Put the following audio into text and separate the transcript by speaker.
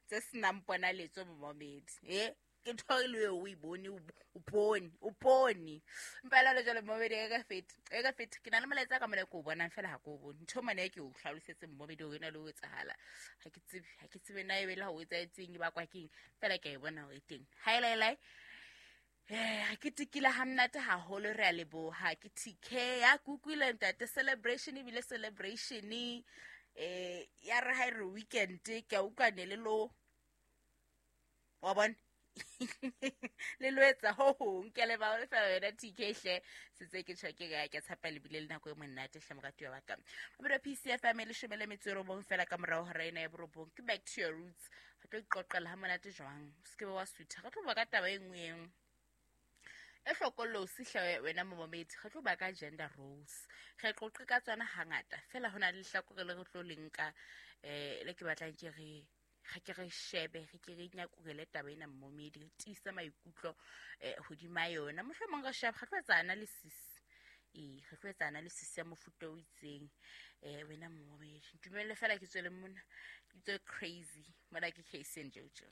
Speaker 1: Tse senang ponaletso momamedi. E ke ntho e le eo o e bone, o bone, o bone. Empa le jwale momamedi, e ka fete, e ka fete. Ke na le molaetsa ka mona ke o bonang fela, ha ke o bone. Ntho mane e ke o hlalosetse momamedi hore e na le ho etsahala. Ha ke tsebe, ha ke tsebe na ebe le ha o etsahetseng e bakwa keng. Fela ke a e bona hore e teng. Ha e laelae. Re ketekile ha monate haholo, re a leboha. Ke TK ya ke utlwile ntate, celebration ebile celebration ya re ha e re weekend ke a utlwa ne le lo wa bona le lo etsa ho hong. Ke a leboha le fela wena TK hle, setse ke tjho ke ke tshepa le bile le nako e monate hle, moratuwa wa ka. Mabelo PCFM e 19 fela ka morao hora ena ya 9. Ke back to your roots. Re tlo iqoqela ha monate jwang, o se ke be wa sutha. Re tlo bua ka taba e nngwe eng e hlokolosi hle wena momamedi. Re tlo bua ka gender roles, re qoqe ka tsona hangata fela. Ho na le lehlakore le re tlo le nka, le ke batlang ke re re ke re shebe, re ke re nyakurele taba ena momamedi, re tiise maikutlo hodima yona. Mohlomong re shebe, re tlo etsa analysis, ee, re tlo etsa analysis ya mofuta o itseng. Wena momamedi, ntumelle fela ke tswele mona, ke tswe crazy mona. Ke Case and Jojo.